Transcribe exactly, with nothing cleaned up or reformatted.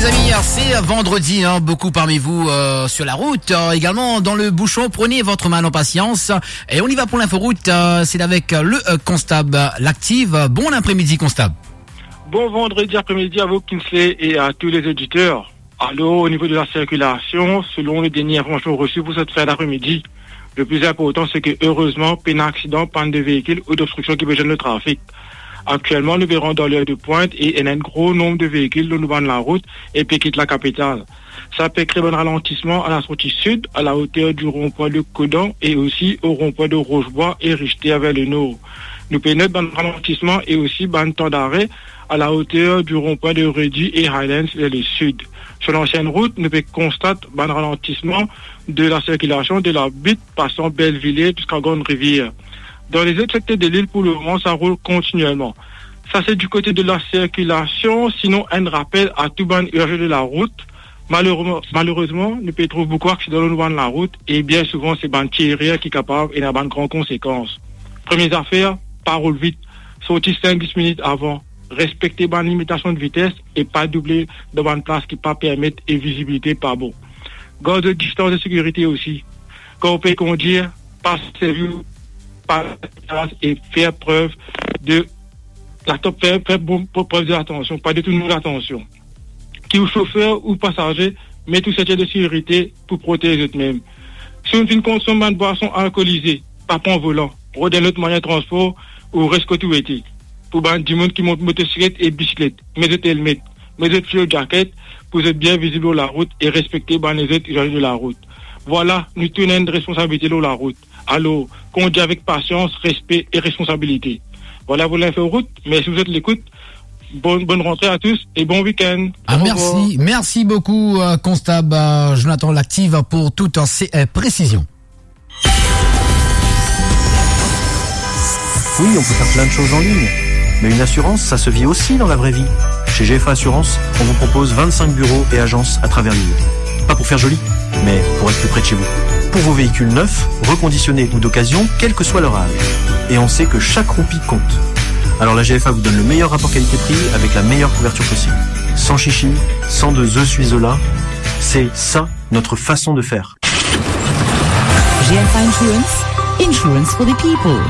Les amis, c'est vendredi, hein, beaucoup parmi vous euh, sur la route, euh, également dans le bouchon. Prenez votre mal en patience et on y va pour l'inforoute. Euh, c'est avec euh, le euh, constable Lactive. Bon après-midi, constable. Bon vendredi après-midi à vous, Kingsley, et à tous les auditeurs. Alors, au niveau de la circulation, selon les dernières informations reçues pour cette fin d'après-midi, le plus important, c'est que, heureusement, pas d'accident, panne de véhicule ou d'obstruction qui peut gêner le trafic. Actuellement, nous verrons dans l'heure de pointe et il y a un gros nombre de véhicules dans le banc de la route et puis quitte la capitale. Ça peut créer un ralentissement à la sortie sud, à la hauteur du rond-point de Codan et aussi au rond-point de Rochebois et Richter vers le nord. Nous prenons un ralentissement et aussi un temps d'arrêt à la hauteur du rond-point de Reddy et Highlands vers le sud. Sur l'ancienne route, nous constatons un ralentissement de la circulation de la Butte passant Bellevilliers jusqu'à Grande-Rivière. Dans les autres secteurs de l'île, pour le moment, ça roule continuellement. Ça, c'est du côté de la circulation. Sinon, un rappel à tout bann usagers de la route. Malheureusement, malheureusement, nou pe trouv boukou aksidan lor nou bann larout e bien souvan se bann ti erer ki kapav ena bann gran konsekans. Premie zafer, pa roul vit, sorti sink dis minit avan, respekte bann limitasion de vites e pa double dan bann plas ki pa permet e vizibilite pa bon. Gard zot distans de sekirite osi. Kan ou pe kondir, pa servi ou pa e fer prev de latansion, fer, fer bon, prev de latansion, pa detourn latansion. Ki ou sofer ou pasaze, met ou seintir de sekirite pou protez zot mem. Si ou finn konsom bann bwason alkolize, pa pran volan, rod enn lot mwayin transpor ou res kot ou ete. Pou bann dimoun ki mont motosiklet e bisiklet, met zot elmet, met zot fuel jacket pou zot bien vizib lor larout e respekte bann lezot izaze de larout. Vwala, nou tou ena enn responsabilite lor larout. Alor, kondir avek pasians, respe e responsabilite. Vwala pou linfo rout. Mersi pou zot lekout. Bonn, bonn rantre a tous e bon wikenn. Ah, orevwar. Merci, merci beaucoup, euh, Constable, euh, Jonathan Lactive, pour toutes ces, euh, précisions. Oui, on peut faire plein de choses en ligne, mais une assurance, ça se vit aussi dans la vraie vie. Chez G F A Assurance, on vous propose vingt-cinq bureaux et agences à travers l'île. Pas pour faire joli, mais pour être plus près de chez vous. Pour vos véhicules neufs, reconditionnés ou d'occasion, quel que soit leur âge. Et on sait que chaque roupie compte. Alors la G F A vous donne le meilleur rapport qualité-prix avec la meilleure couverture possible. Sans chichi, sans de je suis Zola, c'est ça notre façon de faire. G F A Insurance, insurance for the people.